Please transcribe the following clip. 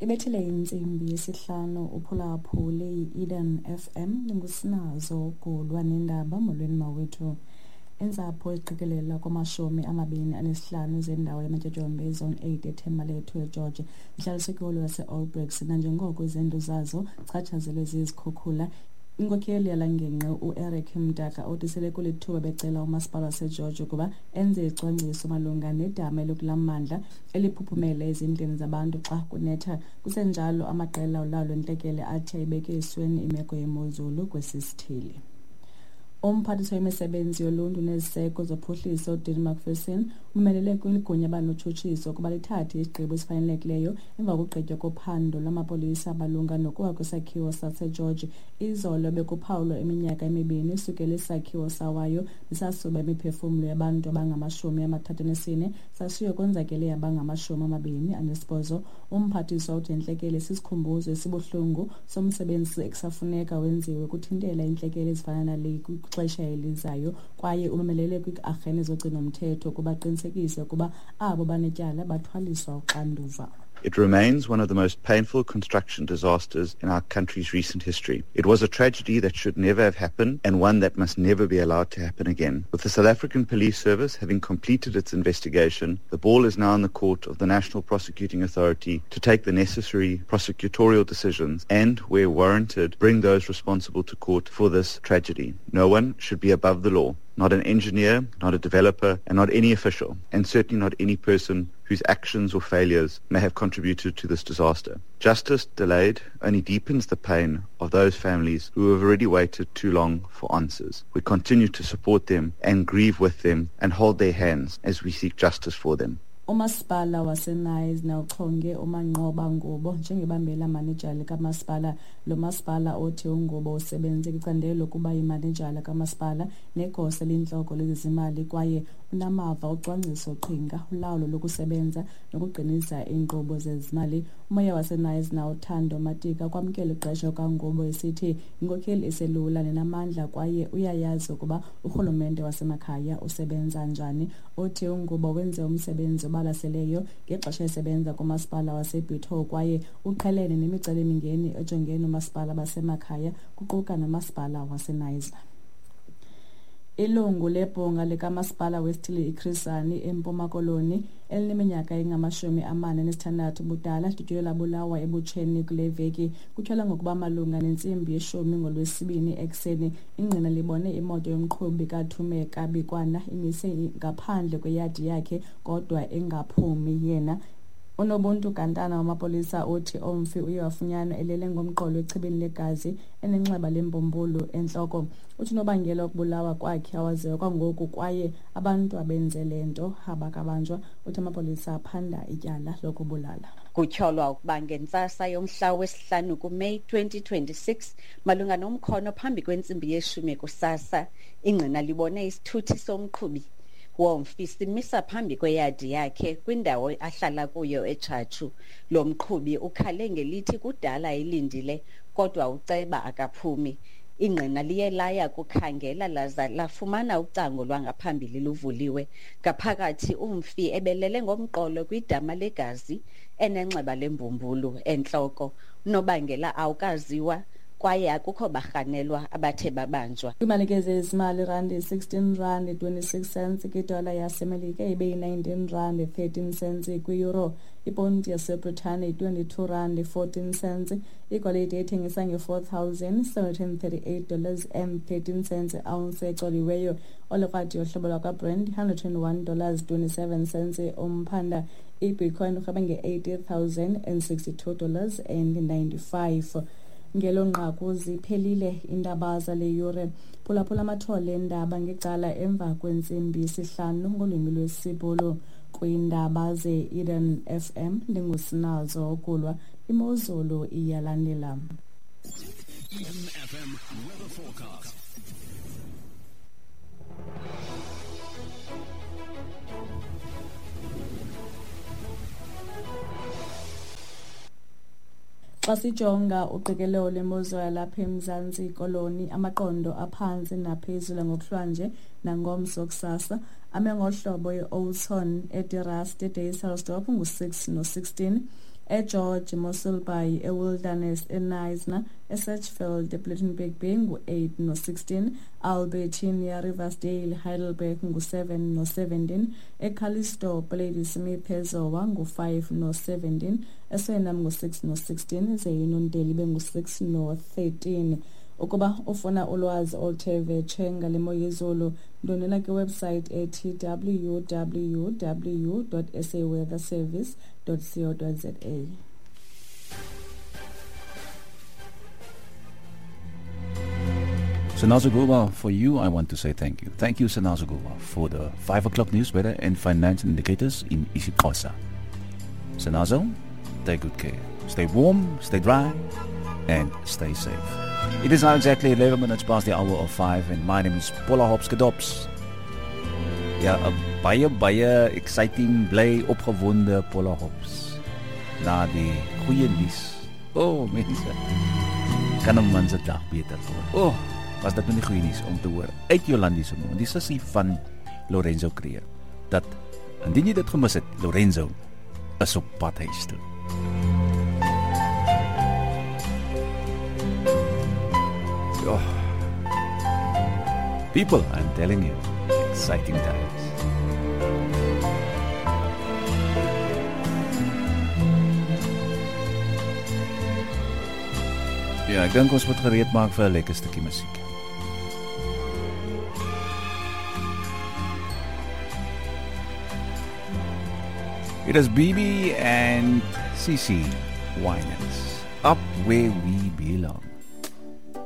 Ibethile intsimbi yesihlanu, uphulaphule i-Eden FM, ndingusinazo Gulwa nendaba. Molweni mawethu. Intsapho eqikelelwa kwama-25 zendawo yamatyotyombe iZone 8 eThembalethu eGeorge zihlaliswe kwiholo yase-All Blacks nanjengoko izindlu zazo chatshazelwe zizikhukhula. Inkokheli yala ngingqi uEric Mdaka uthi sele kulithuba becela umasipala waseGeorge ukuba enze icwangciso malunga nedama elikulaa mmandla eliphuphumele ezindlini zabantu xa kunetha. Kusenjalo, amaqela olawulo intlekele athi ayibeke esweni imeko yemozulu kwesi sithili. Umphathiswa wemisebenzi yoluntu neziseko zophuhliso uDean Macpherson umelele kwigunya banotshutshiso ukuba lithathe isigqibo esifanelekileyo emva kokugqitywa kophando lwamapolisa malunga nokuwa kwesakhiwo saseGeorge. Izolo bekuphawulwa iminyaka emibini sukela isakhiwo sawayo nesasuba imiphefumlo yabantu abangama-34, sashiya konzakele abangama-28. Umphathiswa uthi intlekele sisikhumbuzo esibuhlungu somsebenzi ekusafuneka wenziwe ukuthintela iintlekele ezifana nale kwixesha elizayo, kwaye umemelele kwii-arhente zogcinomthetho ukuba aqinisekise ukuba abo banetyala bathwaliswa uxanduva. It remains one of the most painful construction disasters in our country's recent history. It was a tragedy that should never have happened and one that must never be allowed to happen again. With the South African Police Service having completed its investigation, the ball is now in the court of the National Prosecuting Authority to take the necessary prosecutorial decisions and, where warranted, bring those responsible to court for this tragedy. No one should be above the law. Not an engineer, not a developer, and not any official, and certainly not any person whose actions or failures may have contributed to this disaster. Justice delayed only deepens the pain of those families who have already waited too long for answers. We continue to support them and grieve with them and hold their hands as we seek justice for them. Umasipala waseKnysna uchonge uManqoba Ngubo njengebambela manejala kamasipala. Lo masipala othi uNgubo usebenze kwicandelo lokuba yimanejala kamasipala negosa elintloko lezezimali, kwaye unamava ocwangciso qhinga, ulawulo lokusebenza nokuqinisa iinkqubo zezimali. Umoya waseKnysna uThando Matika kwamkela uqesho kaNgubo, esithi yinkokheli eselula nenamandla kwaye uyayazi ukuba urhulumente wasemakhaya usebenza njani. Uthi uNgubo wenze umsebenzi obalaseleyo ngexesha esebenza kumasipala waseBitou, kwaye uqhelene nemicelimingeni ejongene noomasipala basemakhaya, kuquka nomasipala waseKnysna. Ilungu lebhunga likamasipala wesithili iChris Hani eMpuma Koloni elineminyaka engama-46 ubudala lidutyulwe labulawa ebutsheni kule veki. Kutyholwa ngokuba malunga nentsimbi yeshumi ngoLwesibini ekuseni, ingqina libone imoto yomqhubi kaThumeka Bikwana imise ngaphandle kweyadi yakhe kodwa engaphumi yena. UNobuntu Gantana wamapolisa uthi umfi uye wafunyanwa elele ngomqolo echibini legazi, enenxeba lembumbulu entloko. Uthi unobangela wokubulawa kwakhe awaziwa kwangoku, kwaye abantu abenze le nto abakabanjwa. Uthi amapolisa aphanda ityala lokubulala. Kutyholwa ukuba ngentsasa yomhla wesihlanu kuMeyi 2026, malunga nomkhono phambi kwentsimbi yeshumi kusasa, ingqina libone isithuthi somqhubi womfi simisa phambi kweyadi yakhe kwindawo ahlala kuyo eTshatshu. Lo mqhubi ukhale ngelithi kudala elindile kodwa uceba akaphumi. Ingqina liye laya kukhangela laza lafumana ucango lwangaphambili luvuliwe. Ngaphakathi umfi ebelele ngomqolo kwidama legazi, enenxeba lembumbulu entloko. Unobangela awukaziwa kwaye akukho barhanelwa abathe babanjwa. Kwiimali ke zezimali, randi 16 rand 26 cents kwidola yaseMelika, ibe yi-19 rand 13 cents kwi-euro. Iponti yaseBritane 22 rand 14 cents. Igolide ethengisa nge-$4,738 and 13 cents ounce ecoliweyo. Olikrwadi yohlobo lwakwaBrent $121 27 cents umphanda. Ibitcoin urhweba nge-$80,062 and 95. Ngelo nqaku ziphelile iindaba zale yure. Phulaphula amathole endaba ngecala emva kwentsimbi yesihlanu ngolwimi lwesiBhulu kwiindaba ze-Eden FM. Ndingusinazo Okulwa. Imozulu iyalandela. Eden FM weather forecast. Xa sijonga uqikelelo lwemozulu yalapha eMzantsi Koloni, amaqondo aphantsi naphezulu ngokuhlwanje nangomso kusasa ame ngohlobo: i-Oudtshoorn, eDe Rust, eDysselsdorp ngu-6 no-16. eGeorge, Mossel Bay, eWilderness, eKnysna, eSedgefield, ePlettenberg Bay ngu-8 no-16, Albertinia, Riversdale, Heidelberg ngu-7 no-17, eCallisto, Ladysmith, Zowa ngu-5 no-17, eSwellnum ngu-6 no-16, ze iNondeli ibe ngu-6 no-13. Ukuba ufuna ulwazi oluthe vetshe ngale mo yezulu, ndwendwela kwiwebsite ethi www.saweatherservice.co.za. Sinazo Gulwa, for you, I want to say thank you. Thank you, Sinazo Gulwa, for the 5 o'clock news, weather and finance indicators in isiXhosa. Sinazo, take good care. Stay warm, stay dry, and stay safe. It is now exactly 11 minutes past the hour of 5, and my name is Paula Hopskedops. Ja, 'n baie, baie exciting, bly, opgewonde Paula Hops. Na die goeie nuus. Oh, mense. Kan 'n man se dag beter word. Oh, was dit nou nie goeie nuus om te hoor uit Jolandi se mond, die sussie van Lorenzo Creer, dat indien jy dit gemis het, Lorenzo is op pad huis toe. Oh. People, I'm telling you, exciting times. Ja, ek dink ons moet gereed maak vir 'n lekker stukkie musiek. It is BB and CC Winans, Up Where We Belong.